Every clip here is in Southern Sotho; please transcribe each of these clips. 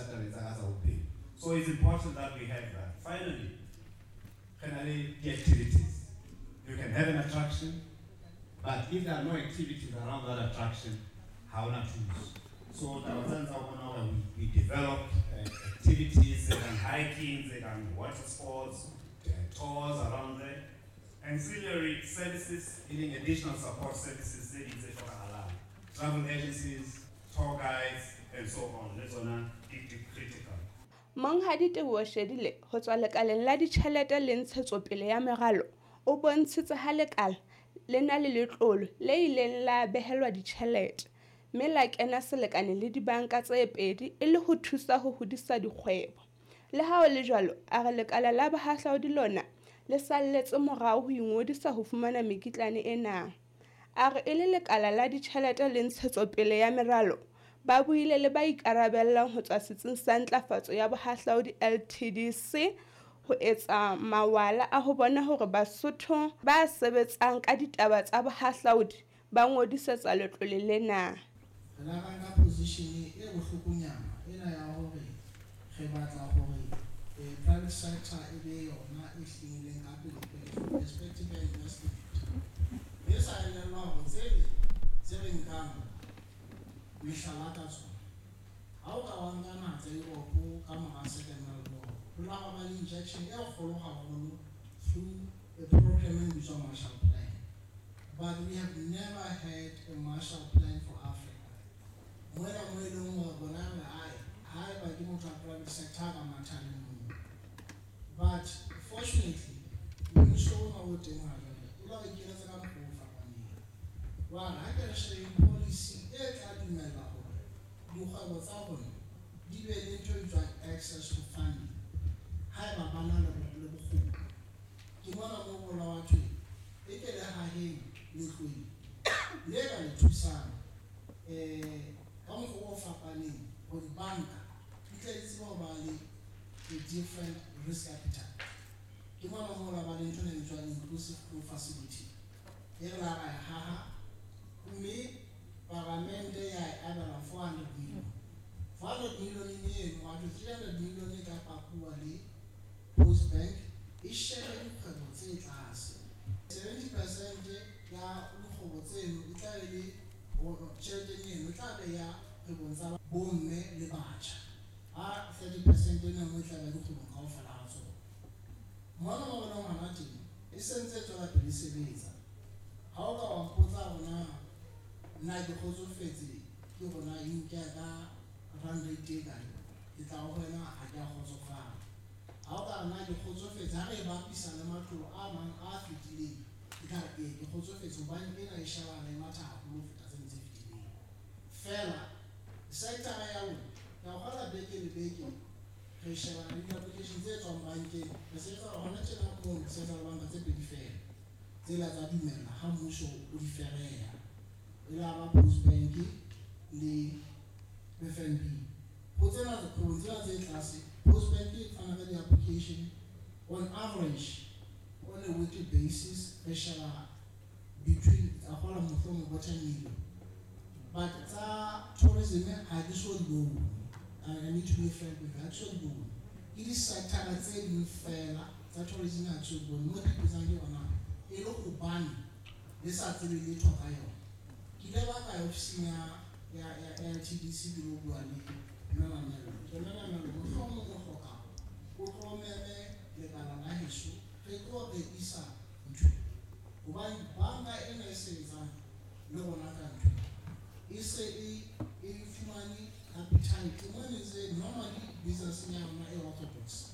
thusa tabeng tsa ka tsa bophelo. So it's important that we have that. Finally, finally, the activities. You can have an attraction, but if there are no activities around that attraction, how not choose? So we developed activities and hiking, and water sports, tours around there, ancillary services, meaning additional support services, travel agencies, tour guides, and so on. That's on critical. Monghadi Teboho Shelile ho tswa lekaleng la ditjhelete le ntshetsopele ya meralo o bontshitse ha lekala le na le letlole le ileng la behelwa ditjhelete, mme la kena selekane le dibanka tse pedi e le ho thusa ho hodisa dikgwebo. Le ha ho le jwalo, a re lekala la bohahlaudi lona le salletse morao ho ingodisa ho fumana mekitlane ena. A re e le lekala la ditjhelete le ntshetsopele ya meralo, ba buile le ba ikarabellang ho tswa Setsing sa Ntlafatso ya Bohahlaudi LTDC ho etsa mawala a ho bona hore Basotho ba sebetsang ka ditaba tsa bohahlaudi ba ngodisetsa letlole lena. Re la nka position e bohlokonyana ena ya hore re batla hore private sector e be yona e hlileng ka pele pele perspective ya investment. Re sa elellwa hore tse re nkang mehlala ka tsona ha o ka wa nka naha tsa Europe ka mora Second World War, ho la ba le injection e kgolo haholo through a program e bitswang Marshall Plan. But we have never had a Marshall Plan for Africa. Moela mo e leng hore bona re ae haeba ke motho wa private sector ka matha le mong. But fortunately, mmuso ona o teng ha jwale o la re ikeletsa ka mokgwa o fapaneng. Wa re ha ke re shebeng policy e tla dumella hore dikgwebo tsa rona di be le ntho e bitswang access to funding haeba ba na le bokgoni. Ke mona moo ho la wa thwe e ke le haheng letlole le ka le thusang ka mokgwa o fapaneng hore dibanka di tle di tsebe ho ba le a different risk appetite. Ke mona moo la ba le ntho e bitswang inclusive growth facility e re la ra e haha mme paramente ya e abela 400 million. 400 million eno wa 300 million e ka pakuwa le Post Bank e shebe dikgwebo tse tlase. 70% ya dikgwebo tseno e tla be le tjhelete eno e tla be ya kgwebong tsa bomme le batjha. Ha 30% ena nngwe e tla be dikgwebong kaofela ha tsona. Mona mo bonang hona teng e sentse e tswela pele e sebetsa. Ha o ka wa mpotsa hore na nna ke kgotsofetse ke rona e nka ka rand rate e kae, ke tla ho wena ha ke a kgotsofala. Ha o ka nna ke kgotsofetse ha re e bapisa le matlolo a mang a fetileng, ke tla re ee ke kgotsofetse hobane ena e shebana e matha haholo ho feta tsene tse fetileng. Feela sector ya rona ke a kgolwa beke le beke re shebana le di-application tse tswang bankeng. Re sebetsa hona tjena moo re sebetsa le banka tse pedi feela tsela tsa dumella ha mmuso o di fereha. E la ba Post Bank le FNB. Ho tsena dikgwebong tsena tse tlase, Post Bank e fana ka di-application on average on a weekly basis re sheba between a kgola mohlomong bo 10 million. But tsa tourism ha ke so di bone. I need to be frank with you, ha ke so di bone. Ke di-sector tse ding fela tsa tourism ha ke so di bone. Mo ke ipotsang ke yona e le hobane le sa tsebe letho ka yona. Ke ile ba ka ya ofising ya LTDC ke lo bua le Mme Mamello. Ke Mme Mamello, mohlomong o hloka o tlo meme lekala la heso re tlo rekisa ntho. Hobane banka ena e sebetsang le rona ka ntho e se e fumane appetite. Mone tse normally business ya rona e orthodox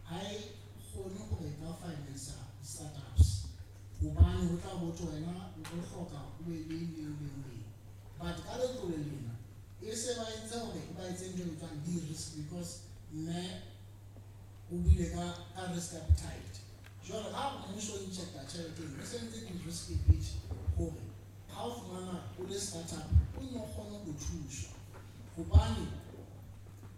ha e kgone hore e ka finance startups hobane ho tla botho wena o tlo hloka o be le le. But ka letlole lena e se ba entse hore ba etse ntho e bitswang de-risk because mme o buile ka risk appetite. Jwale ha mmuso o injecta tjhelete eno, e se ntse de-risk a bit hore ha o fumana o le startup o nno kgone ho thuswa. Hobane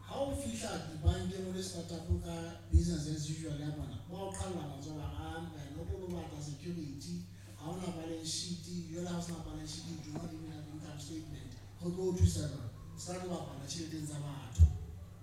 ha o fihla dibankeng o le startup ka business as usual ya bona, ba o qhalla matsoho a wena o tlo batla security, ha ona balance sheet, jwale ha o sena balance sheet, you do not even have income statement. Ho tlo o thusa jwang? Se ka tlo bapala tjheleteng tsa batho.